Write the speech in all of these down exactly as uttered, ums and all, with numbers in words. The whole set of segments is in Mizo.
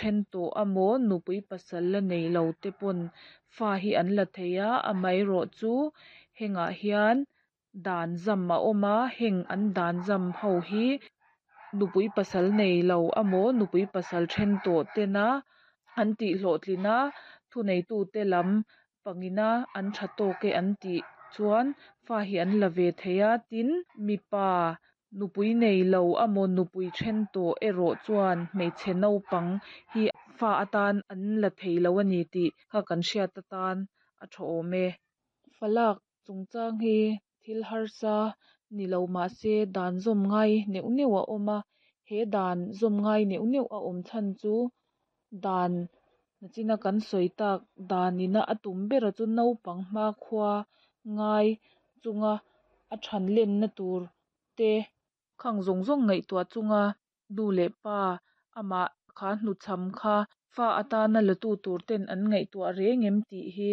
then tawh amaw nupui pasal la neilo te pawn fa hi an la thei a amaherawh chu hengah hian dan zam a awm a heng an dan zam ho hi nupui pasal neilo amaw nupui pasal then tawh tena an tih hlawhtlin a thuneitu te lam pangina an tha tawk e an tih chuan fa hi an la ve thei a tin mipa nupui neilo amaw nupui then tawh erawh chuan hmeichhe naupang hi fa atan an la theilo ani tih kha kan hriat atan a tha awm e. Fa lak chungchang hi thil harsa nilo mahse dan zawm ngai neuh neuh a awm a he dan zawm ngai neuh neuh a awm chhan chu dan nachina kan sawi tak dan ina a tum ber a chu naupang hmakhua ngai chunga a than lenna tur te khang zawng zawng ngaihtuah chunga nu leh pa amah kha hnuchham kha fa atana la tu tur ten an ngaihtuah reng em tih hi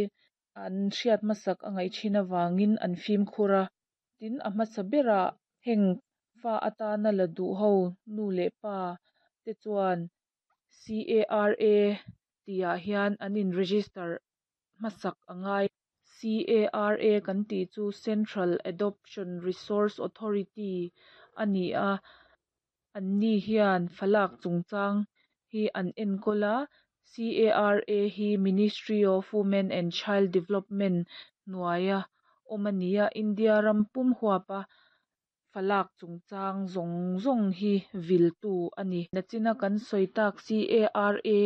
an hriat hmasak a ngaih thin avangin an fimkhur a tin a hmasa berah heng fa atana la duh ho nu leh pa te chuan C A R A tih ah hian an in register hmasak a ngai C A R A kan tih chu Central Adoption Resource Authority ani a an ni hian fa lak chungchang hi an enkawl a C A R A hi Ministry of Women and Child Development hnuaia awm ani a India ram pum huap a fa lak chungchang zawng zawng hi vil tu ani nachina kan sawi tak C A R A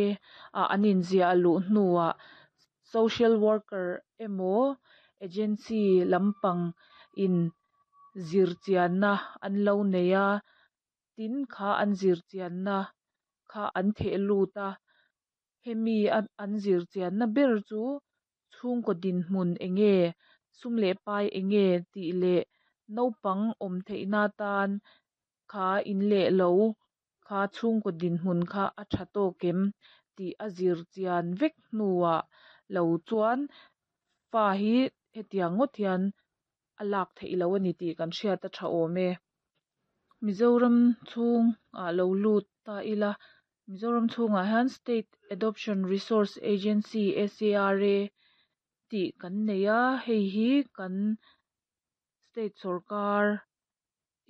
ah an inziah luh hnuah social worker emaw agency lampang in zir chianna an lo nei a tin kha an zir chianna kha an theh lut a hemi a an zir chianna ber chu chhungkaw dinhmun eng nge sum leh pai eng nge tih leh naupang awm theih na tan kha in leh lo kha chhungkaw dinhmun kha a tha tawk em tih a zir chian vek hnuah lo chuan fa hi hetiang ngawt hian a lak theih loh ani tih kan hriat a tha awm e. Mizoram chhung ah lo lut ta ila Mizoram chhungah hian State Adoption Resource Agency S A R A tih kan nei a hei hi kan state sawrkar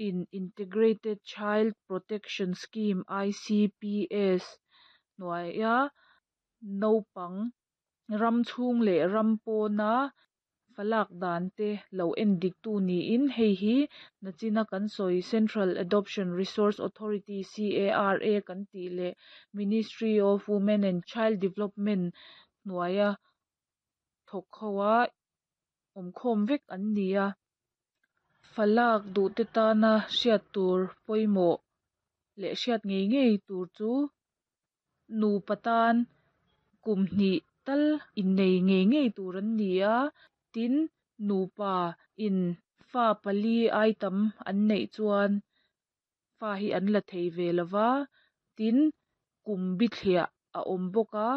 in Integrated Child Protection Scheme I C P S hnuaia naupang ram chhung leh ram pawna fa lak dan te lo en dik tu niin hei hi nachina kan sawi Central Adoption Resource Authority C A R A kan tih leh Ministry of Women and Child Development hnuaia thawk ho a awm khawm vek an ni a fa lak duh te tana hriat tur pawimawh leh hriat ngei ngei tur chu nupa tan kum hnih tal innei ngei ngei tur an ni a tin nupa in fa pali ai tam an neih chuan fa hi an la thei ve lova tin kum bithliah a awm bawk a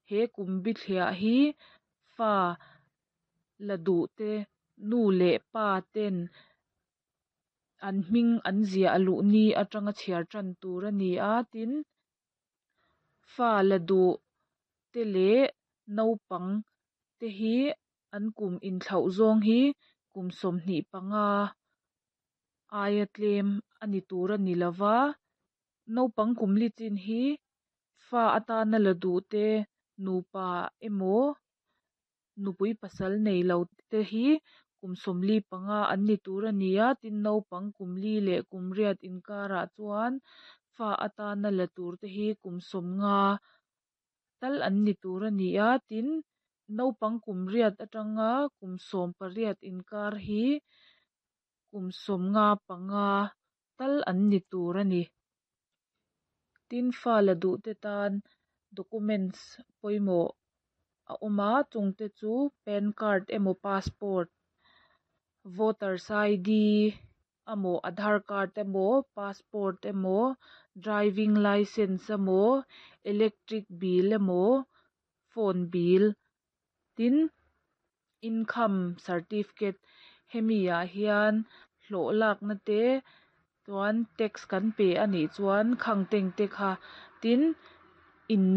he kum bithliah hi fa la duh te nu leh pa ten an hming an ziah luh ni atanga chhiar tan tur ani a tin fa la duh te leh naupang te hi an kum inthlauh zawng hi kum sawmhnih panga aia tlem ani tur ani lova naupang kum li chin hi fa atana la duh te nupa emaw nupui pasal neilo te hi kum sawmli panga an ni tur ani a tin naupang kum li leh kum riat inkarah chuan fa atana la tur te hi kum sawmnga tal an ni tur ani a tin naupang kum riat atanga kum sawm pariat inkar hi kum sawmnga panga tal an ni tur ani tin fa la duh te tan documents pawimawh a awm a chung te chu pan card emaw passport voters I D emaw aadhar card emaw passport emaw driving licence emaw electric bill emaw phone bill tin income certificate hemi ah hian hlawh lakna te chuan tax kan pe anih chuan khang teng te kha tin inneih.